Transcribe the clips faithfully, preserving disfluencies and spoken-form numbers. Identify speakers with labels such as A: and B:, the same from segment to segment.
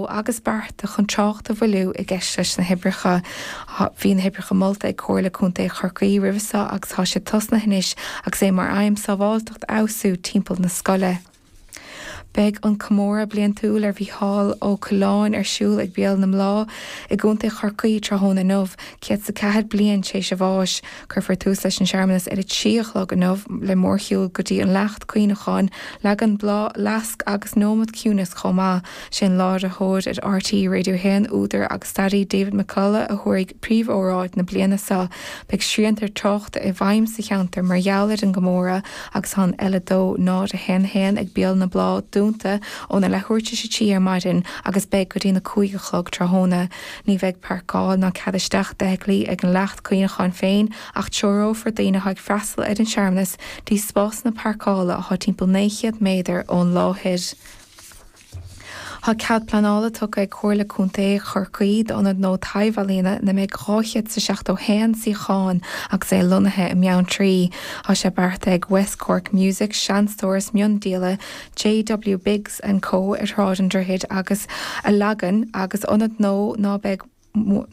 A: agus bearta chun trácht a mhoilliú i gceist leis na hoibreacha. Bhí na hoibreacha molta ag Comhairle Contae Chorcaí roimhe seo agus tá sé tosnaithe anois agus é mar aidhm sábháilteacht a fheabhsú timpeall na scoile. Beidh an comóradh bliantúil ar Mhícheál Ó Coileáin ar siúl ag Béal na mBláth i gContae Chorcaí tráthnóna inniu, céad is a ceathair bliain tar éis a bháis. Cuirfear tús leis an searmanas ar a trí a chlog inniu le mórshiúl go dtí an leacht cuimhneacháin, leagan bláth, lasc agus nóiméad ciúinis chomh maith. Sé an láithreoir ar RTÉ Radio a haon, údar agus staraí David McCullough a thabharfaidh príomhóráid na bliana seo. Beidh srianta tráchta i bhfeidhm sa cheantar mar gheall ar an gcomóradh agus tá an L a dó náid a haon haon ag Béal na mBláth dúnta óna leathuair tar éis a trí ar maidin agus beidh go dtí na cúig a chlog tráthnóna. Ní bheidh páirceáil ná cead isteach d'fheithiclí ag an leacht cuimhneacháin féin ach treorófar daoine atá ag freastal ar an searmanas dtí spásanna páirceála atá timpeall naoi chéad méadar ón láthair. Tá cead pleanála tugtha ag Comhairle Contae Chorcaí d'ionad nua taibh-ealaíona ina mbeidh dhá chéad is seachtó haon suíochán agus é lonnaithe i mBeanntraí. Tá sé beartaithe ag West Cork Music, seanstóras miondíola JW Biggs and Co ar Shráid an Droichid agus a leagan agus ionad nua ná beidh gabh mo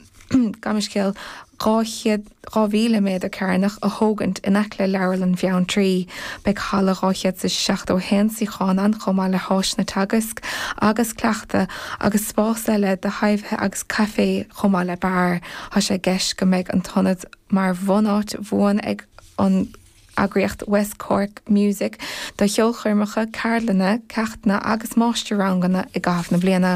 A: leithscéal dhá chéad dhá mhíle méadar cearnach a thógaint in aice le Leabharlann Bheanntraí. Beidh halla dhá chéad is seachtó a haon suíochán ann chomh maith le háiseanna teagaisc agus cleachta agus spás eile do thaibhithe agus caifé chomh maith le beár. Tá sé i gceist go mbeidh an t-ionad mar bhunáit bhuan ag an eagraíocht West Cork Music do cheolchoirmeacha, ceardlanna, ceachtanna agus máistir-ranganna i gcaitheamh na bliana.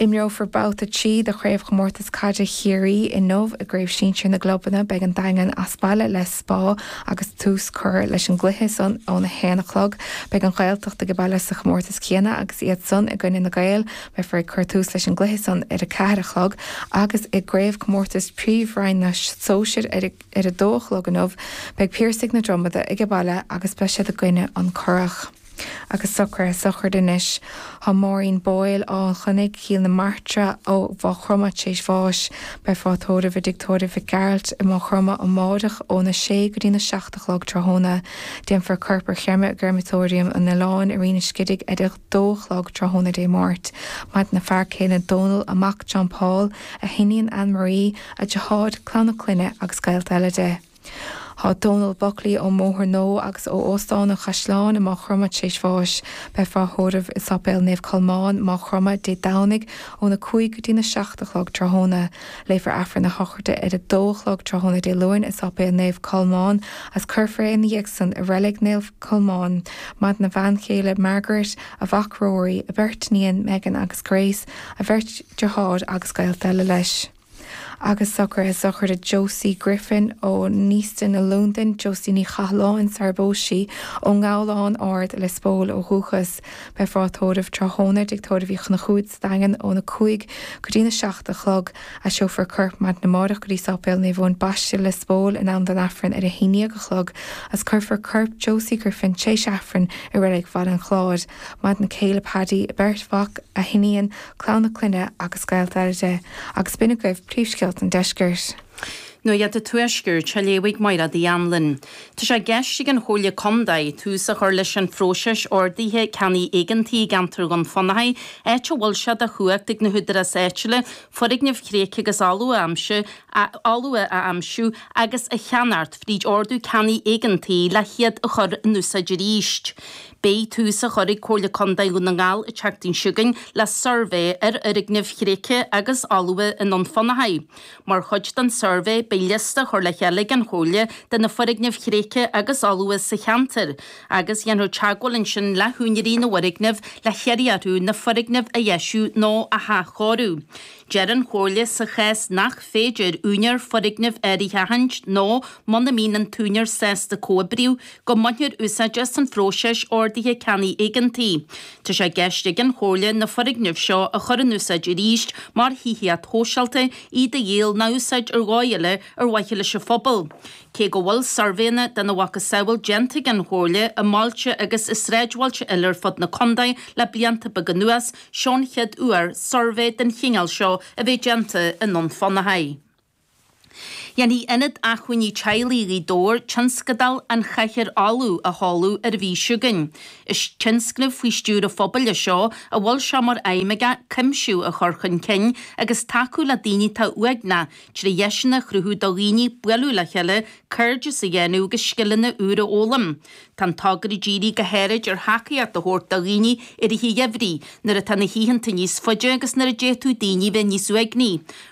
A: Imreofar babhta trí de Chraobhchomórtas Caide Chiarraí inniu i gCraobh Sinsir na gClubanna. Beidh an Daingean as baile le Spa agus tús curtha leis an gcluiche san óna haon a chlog. Beidh an Ghaeltacht ag baile sa chomórtas céanna agus iad san i gcoinne na Gaeil. Beifear ag cur tús leis an gcluiche san ar a ceathair a chlog agus i gCraobhchomórtas Príomhroinn na Sóisear ar ar a dó a chlog inniu, beidh Piarsaigh na Dromada ag baile agus beidh siad i gcoinne an Currach. Agus socruithe sochraide anois. Tá Maureen Boyle Áth an Chonnaigh, Cill na Martra ó Mhaigh Chromtha tar éis bháis. Beifear á tórramh i dTigh Tórraimh Mhic Gearailt i Maigh Chromtha amáireach óna sé go dtí na seacht a chlog tráthnóna. Déanfar corp a chreimeadh i gcreamatóiriam an Oileáin i Rinn an Scidigh ar a dó a chlog tráthnóna Dé Máirt. Maireann a fear céile Dónal, a mac John Paul, a hiníon Anne Marie, a deartháir, clann a clainne agus gaolta eile de. Tá Dónal Buckley ón mBóthar Nua agus ó Óstán an Chaisleáin i Maigh Chromtha tar éis bháis. Beifear á thórramh i Sáipéal Naomh Colmán, Maigh Chromtha, Dé Domhnaigh óna cúig go dtí na seacht a chlog tráthnóna. Léifear Aifreann a shochraide ar a dó a chlog tráthnóna Dé Luain i Sáipéal Naomh Colmán agus cuirfear é ina dhiaidh san i Reilig Naomh Colmán. Maireann a bhean chéile Margaret, a mhac Rory, a bheirt iníon Megan agus Grace, a bheirt deartháir agus gaolta eile leis. Agus socruithe sochraide Josie Griffin ó Neasden i Londain, Josie Ní Chathalláin sar bpós sí ón nGabhlán Ard, Lios Póil ó dhúchas. Beifear á tórramh tráthnóna i dTigh Tórraimh Uí Chonchúir sa Daingean óna cúig go dtína seacht a chlog. Aistreofar a corp maidin amárach go dtí Sáipéal Naomh Eoin Baiste, Lios Póil in am don Aifreann ar a haon déag a chlog agus cuirfear corp Josie Griffin tar éis Aifrinn i Reilig Bhaile an Chláir. Maireann a céile Paddy, a beirt mhac, a hiníon, clann a clainne agus gaolta eile de. Agus b'in agaibh príomhscéalta an deiscirt.
B: Nuacht an Tuaiscirt á léamh ag Máire Uí Anluain. Tá sé i gceist ag an Chomhairle Contae tús a chur leis an phróiseas ordaithe ceannaigh éigeantaigh i gceantar Dhún Fionnachaidh, áit a bhfuil sé de chumhacht ag na húdaráis áitiúla foirgnimh thréigthe agus fholmha a aimsiú agus a cheannacht fríd ordú ceannaigh éigeantaigh le hiad a chur in úsáid arís. Beidh tús á chur ag Comhairle Contae Dhún na nGall an tseachtain seo chugainn le suirbhé ar fhoirgnimh thréigthe agus fholmha i nDún Fionnachaidh. Mar chuid den suirbhé beidh liosta á chur le chéile ag an Chomhairle de na foirgnimh thréigthe agus fholmha sa cheantar agus dhéanfar teagmháil ansin le húinéirí na bhfoirgneamh le hiarraidh orthu na foirgnimh a dheisiú nó a hathchóiriú. Deir an Chomhairle sa chás nach féidir úinéir foirgnimh áirithe a aithint nó muna mbíonn an t-úinéir sásta comhoibriú go mbainfear úsáid as an phróiseas ordaithe ceannaigh éigeantaigh. Tá sé i gceist ag an Chomhairle na foirgnimh seo a chur in úsáid arís mar thithíocht shóisialta, iad a dhíol nó a úsáid ar dhóigh eile ar mhaithe leis an phobal. Cé go bhfuil suirbhéanna dena mhacasamhail déanta ag an Chomhairle i mbailte agus i sráidbhailte eile ar fud na contae le blianta beaga anuas, seo an chéad uair suirbhé den chineál seo a bheith déanta i nDún Fionnachaidh. Dhéanfaidh Ionad Acmhainní Teaghlaigh Ghaoth Dobhair tionscadal an Chathaoir Fholamh a sheoladh ar an mhí seo chugainn. Is tionscnamh faoi stiúir an phobail é seo a bhfuil sé mar aidhm aige cuimsiú a chur chun cinn agus tacú le daoine atá uaigneach trí dheiseanna a chruthú do dhaoine bualadh le chéile, cairdeas a dhéanamh agus scileanna úra a fhoghlaim. Tá an togra dírithe go háirid ar thacaíocht a thabhairt do dhaoine i rith an gheimhridh nuair atá na hoícheanta níos faide agus nuair a d'fhéadfadh daoine bheith níos uaigní.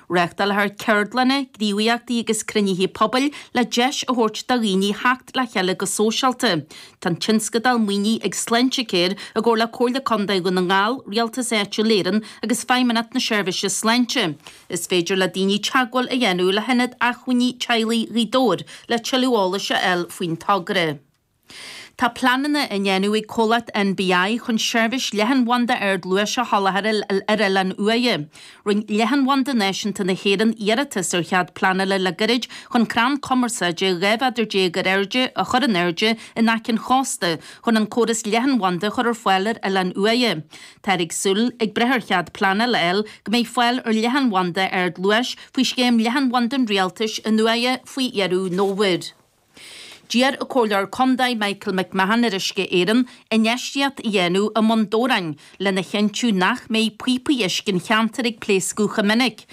B: Reáchtálfar ceardlanna, gníomhaíochtaí agus cruinnithe pobail le deis a thabhairt do dhaoine theacht le chéile go sóisialta. Tá an tionscadal maoinithe ag Sláintecare i gcomhar le Comhairle Contae Dhún na nGall, Rialtas Áitiúil Éireann agus Feidhmeannacht na Seirbhíse Sláinte. Is féidir le daoine teagmháil a dhéanamh le hIonad Acmhainní Teaghlaigh Ghaoth Dobhair le tuilleadh eolais a fháil faoin togra. Tá pleananna á ndéanamh ag comhlacht NBI chun seirbhís leathanbhanda ardluais a sholáthar ar Oileán Uaighe. Rinne Leathanbhanda Náisiúnta na hÉireann iarratas ar chead pleanála le gairid chun crann cumarsáide dhá mhéadar déag ar airde a chur in airde in aice an chósta chun an córas leathanbhanda a chur ar fáil ar Oileán Uaighe. Táthar ag súil, ag brath ar chead pleanála a fháil, go mbeidh fáil ar leathanbhanda ardluais faoi scéim leathanbhanda an Rialtais in Uaighe faoi dheireadh an fhómhair. D'iarr an Comhairleoir Contae Michael McMahon ar Uisce Éireann infheistíocht a dhéanamh i mBun Dobhráin lena chinntiú nach mbeidh píopaí uisce an cheantair ag pléascadh chomh minic.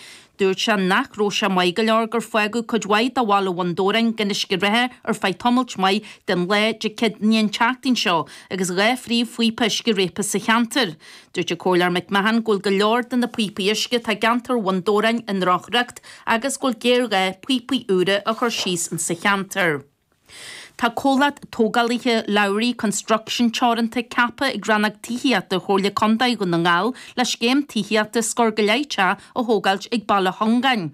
B: Dúirt sé nach raibh sé maith go leor gur fágadh cuid mhaith de bhaile Bhun Dobhráin gan uisce reatha ar feadh tamailt mhaith den lá Dé Céadaoine an tseachtain seo agus dhá phríomhphíopa uisce réabtha sa cheantar. Dúirt an Comhairleoir McMahon go bhfuil go leor de na píopaí uisce atá i gceantar Bhun Dobhráin i ndrochriocht agus go bhfuil géarghá píopaí úra a chur síos insa cheantar. Tá comhlacht tógálaithe Lowry Construction Teoranta ceaptha ag Rannóg Tithíochta Chomhairle Contae Dhún na nGall le scéim tithíochta scór go leith teach a thógáilt ag Baile Chongáin.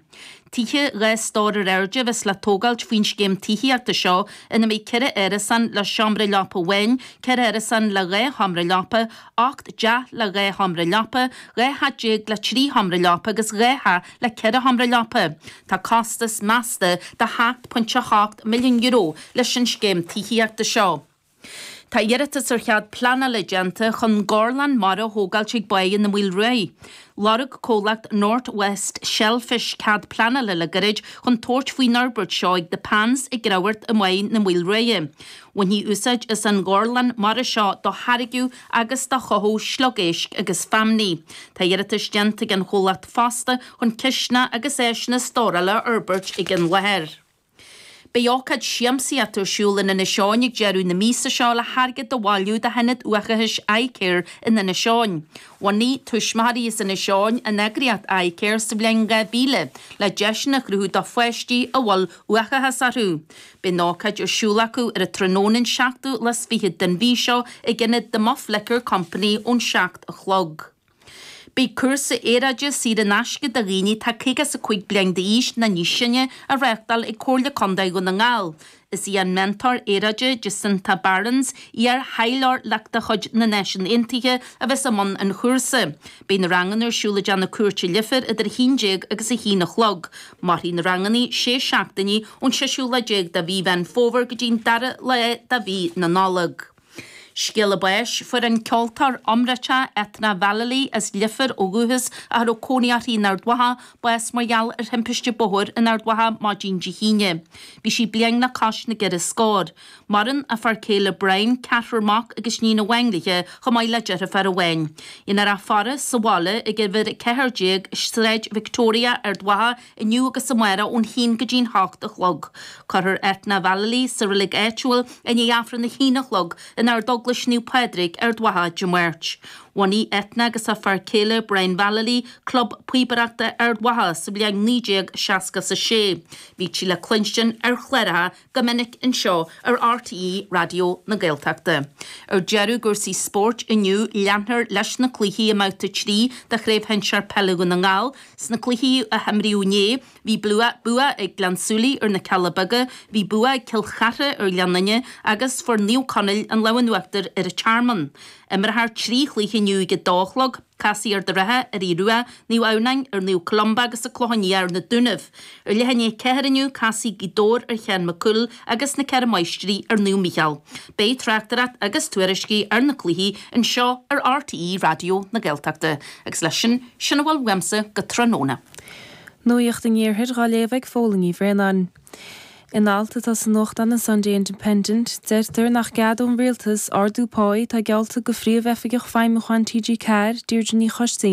B: Tithe dhá stór ar airde a bheas le tógáilt faoin scéim tithíochta seo ina mbeidh ceithre árasán le seomra leapa amháin, ceithre árasán le dhá sheomra leapa, ocht dteach le dhá sheomra leapa, dhá theach déag le trí sheomra leapa agus dhá theach le ceithre sheomra leapa. Tá costas measta de sheacht pointe a hocht milliún euro leis an scéim tithíochta seo. Tá iarratas ar chead pleanála déanta chun gorlann mara a thógáilt ag Báigh na Maoile Ruaidh. Lorg comhlacht North West Shellfish cead pleanála le gairid chun tabhairt faoin fhorbairt seo ag The Pans i gCreamhart i mBáigh na Maoile Ruaidhe. Bhainfí úsáid as an ngorlann mara seo do tháirgeadh agus do chothú sliogéisc agus feamnaí. Tá iarratas déanta ag an chomhlacht fosta chun cistineach agus áiseanna stórála a fhorbairt ag an láthair. Beidh ócáid siamsaíochta ar siúl in Inis Eoghain ag deireadh na míosa seo le hairgead a bhailiú do hionad uathachais iCare in Inis Eoghain. Bhunaigh tuismitheoirí as Inis Eoghain an eagraíocht iCare sa bhliain dhá mhíle le deiseanna a chruthú do pháistí a bhfuil uathachas orthu. Beidh an ócáid ar siúl acu ar an tráthnóna an seachtú lá is fiche den mhí seo ag ionad The Muff Liquor Company ón seacht a chlog. Beidh cúrsa aeráide saor in aisce do dhaoine atá caoga is a cúig bliain d'aois nó níos sine á reáchtáil ag Comhairle Contae Dhún na nGall. Is í an meantóir aeráide Jacinta Barons, iar-thaidhleoir de chuid na Náisiún Aontaithe, a bheas i mbun an chúrsa. Beidh na ranganna ar siúl i dTeach na Cúirte Leifear idir a haon déag agus a haon a chlog. Mairfidh na ranganna sé seachtainí ón seisiú lá déag de mhí Mheán Fómhair go dtí an dara lá de mhí na Nollag. Scéala báis, Fuair an ceoltóir iomráiteach Ethna Vallely as Leifear ó dhúchas ach a raibh cónaí uirthi in Ard Mhacha, bás mar gheall ar thimpiste bóthair in Ard Mhacha maidin Dé hAoine. Bhí sí bliain le cois na gceithre scór. Maireann a fear céile Brian, ceathrar mac agus níon amháin léi, chomh maith le deirfiúr amháin. Déanfar a faire sa bhaile ag uimhir a ceathair déag, Sráid Victoria, Ard Mhacha, inniu agus amárach ón haon go dtí'n hocht a chlog. Cuirfear Ethna Vallely sa reilig áitiúil i ndiaidh Aifreann a haon a chlog in Ardeaglais Naomh Pádraig, Ard Mhacha, Dé Máirt. Bhunaigh Ethna agus a fear céile Brian Vallely Club Píobaireachta Ard Mhacha sa bhliain naoi déag seasca is a sé. Bhí sí le cluinstin ar chláracha go minic anseo ar RTÉ Raidió na Gaeltachta. Ar deireadh i gcúrsaí spóirt inniu leanfar leis na cluichí i mbabhta trí de Chraobh Shinsear Peile Dhún na nGall. Sna cluichí a himríodh inné, bhí bua ag Gleann tSúilí ar na Cealla Beaga, bhí bua ag Cill Chartha ar Ghleann Fhinne agus fuair Naomh Conaill an lámh in uachtar ar an Tearmann. Imreofar trí chluiche inniu ag a dó a chlog, Casfaidh Ard an Rátha ar Aodh Rua, Naomh Adhamhnáin ar Naomh Columba agus an Clochán Liath ar na Dúnaibh. Ar leath i ndiaidh a ceathair inniu, casfaidh Gaoth Dobhair ar Sheán Mac Cumhaill agus na Ceithre Máistrí ar Naomh Mícheál. Beidh tráchtaireacht agus tuairiscí ar na cluichí anseo ar RTÉ Raidió na Gaeltachta. Agus leis sin, sin a bhfuil uaimse go tráthnóna.
C: Nuacht an Iarthair á léamh ag Fódhla Ní Bhraonáin. In alt atá sa nuachtán an Sunday Independent, deirtear nach cead don rialtas ardú páí atá geallta do phríomhoifigeach feidhmiúcháin TG Ceathair Deirdre Ní Choistín